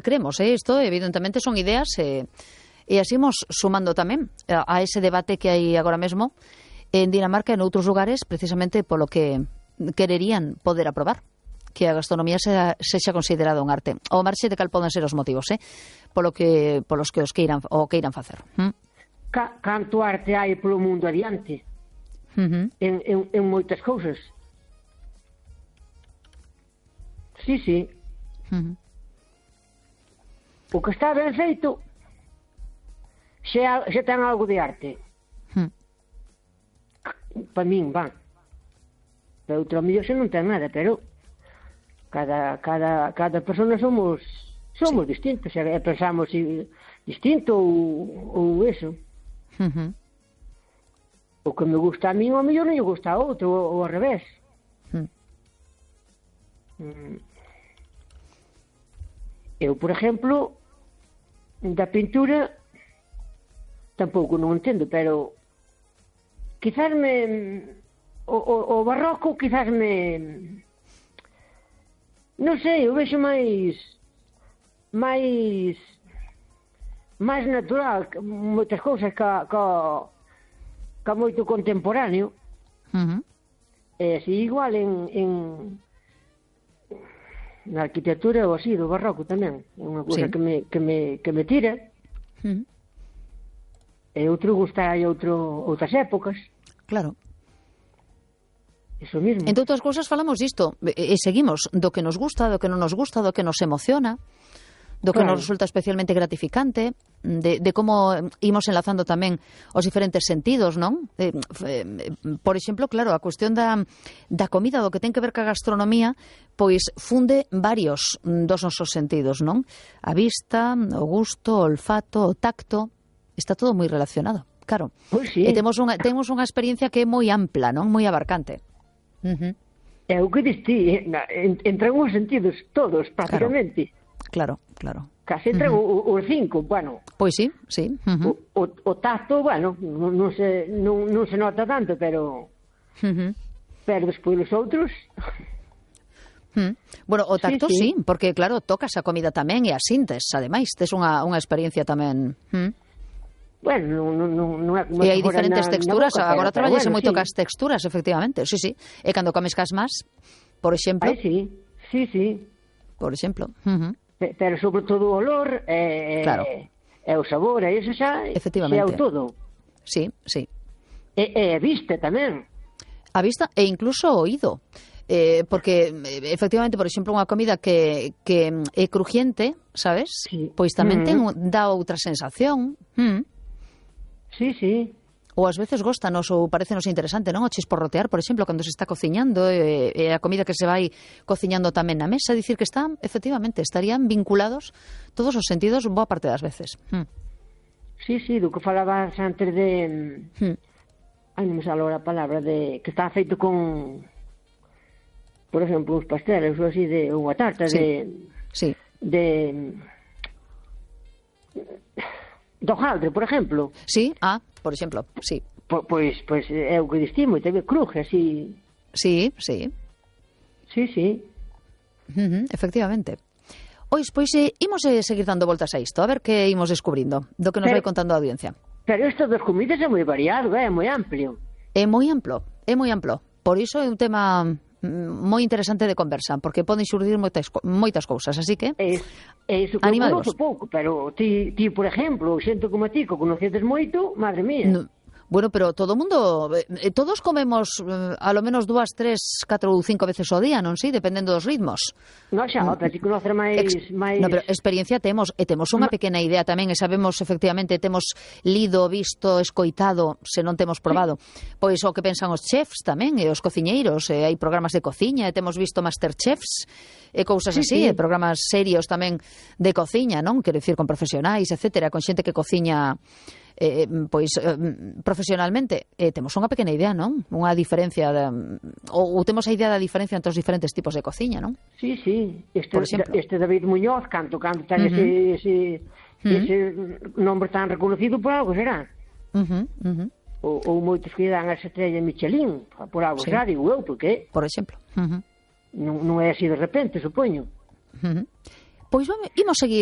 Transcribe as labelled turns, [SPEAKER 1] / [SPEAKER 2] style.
[SPEAKER 1] cremos, isto evidentemente son ideas e así imos sumando tamén a ese debate que hai agora mesmo en Dinamarca e en outros lugares, precisamente polo que quererían poder aprobar que a gastronomía sexa considerada un arte. Ao marxe de cal poden ser os motivos, polos que os queiran facer.
[SPEAKER 2] Canto arte hai polo mundo adiante en moitas cousas. Sí. O que está ben feito xa ten algo de arte. Para min, van. Para outro mellor xa non ten nada, pero cada persona somos distintos, pensamos distinto ou eso. O que me gusta a min, ao mellor non lle gusta a outro, ou ao revés. Eu, por exemplo, da pintura tampouco non entendo, pero quizás o barroco quizás non sei, eu vexo máis natural moitas cousas ca moito contemporáneo. E así igual na arquitectura ou así, do barroco tamén, é unha cousa que me tira. E outro gusta outras épocas.
[SPEAKER 1] Claro.
[SPEAKER 2] Eso mismo.
[SPEAKER 1] Entre outras cousas falamos disto e seguimos do que nos gusta, do que non nos gusta, do que nos emociona, do que nos resulta especialmente gratificante, de como imos enlazando tamén os diferentes sentidos, non? Por exemplo, claro, a cuestión da comida, do que ten que ver ca gastronomía, pois funde varios dos nosos sentidos, non? A vista, o gusto, o olfato, o tacto, está todo moi relacionado, claro.
[SPEAKER 2] Pois sí.
[SPEAKER 1] E temos unha experiencia que é moi ampla, non? Moi abarcante.
[SPEAKER 2] É o que diste, entran os sentidos todos, prácticamente.
[SPEAKER 1] Claro.
[SPEAKER 2] Casi entran os 5, bueno.
[SPEAKER 1] Pois sí.
[SPEAKER 2] O tacto, bueno, non se nota tanto, pero despois os outros.
[SPEAKER 1] Bueno, o tacto sí, porque claro, tocas a comida tamén e a sintes, ademais, tes unha experiencia tamén.
[SPEAKER 2] Bueno, non é como
[SPEAKER 1] e hai diferentes texturas, agora traballase moito cas texturas, efectivamente, sí. E cando comes cas más, por exemplo.
[SPEAKER 2] Sí.
[SPEAKER 1] Por exemplo.
[SPEAKER 2] Pero sobre todo o olor e o sabor, e iso xa é o todo.
[SPEAKER 1] Sí.
[SPEAKER 2] E a vista tamén.
[SPEAKER 1] A vista e incluso o oído. Porque efectivamente, por exemplo, unha comida que é crujiente, sabes?
[SPEAKER 2] Sí.
[SPEAKER 1] Pois tamén dá outra sensación.
[SPEAKER 2] Sí.
[SPEAKER 1] Ou ás veces góstanos ou parecenos interesante, non? O chisporrotear, por exemplo, cando se está cociñando e a comida que se vai cociñando tamén na mesa, dicir que efectivamente, estarían vinculados todos os sentidos boa parte das veces.
[SPEAKER 2] Sí, do que falabas antes de... Ai, non me sale a palabra, de que está feito con... Por exemplo, uns pasteles ou así, ou unha tarta do hojaldre, por exemplo.
[SPEAKER 1] Sí, por exemplo, sí.
[SPEAKER 2] Pois é o que distimo, e tamén cruje, así.
[SPEAKER 1] Sí.
[SPEAKER 2] Sí.
[SPEAKER 1] Efectivamente. Pois imos seguir dando voltas a isto, a ver que imos descubrindo, do que nos vai contando a audiencia.
[SPEAKER 2] Pero isto das comidas é moi variado, é moi amplio.
[SPEAKER 1] É moi amplo. Por iso é un tema moi interesante de conversa, porque poden xurdir moitas cousas, así que
[SPEAKER 2] iso que eu conozo pouco, pero ti, por exemplo, xente como ti, que conocedes moito, madre mía.
[SPEAKER 1] Bueno, pero todo o mundo, todos comemos a lo menos 2, 3, 4 ou 5 veces ao día, non si? Dependendo dos ritmos.
[SPEAKER 2] Non xa, pero ti conocer máis...
[SPEAKER 1] No, pero experiencia temos, e temos unha pequena idea tamén, e sabemos efectivamente, temos lido, visto, escoitado, se non temos probado, pois o que pensan os chefs tamén, e os cociñeiros, e hai programas de cociña, e temos visto Masterchefs, e cousas así, e programas serios tamén de cociña, non? Quero dicir, con profesionais, etcétera, con xente que cociña profesionalmente, temos unha pequena idea, non? Unha diferencia ou temos a idea da diferencia entre os diferentes tipos de cociña, non?
[SPEAKER 2] Sí. Este David Muñoz, canto ten ese nombre tan reconocido, por algo será. Ou moitos que dan a estrella Michelin, por algo será, digo eu, porque
[SPEAKER 1] por exemplo,
[SPEAKER 2] non é así de repente, supoño.
[SPEAKER 1] Pois imos seguir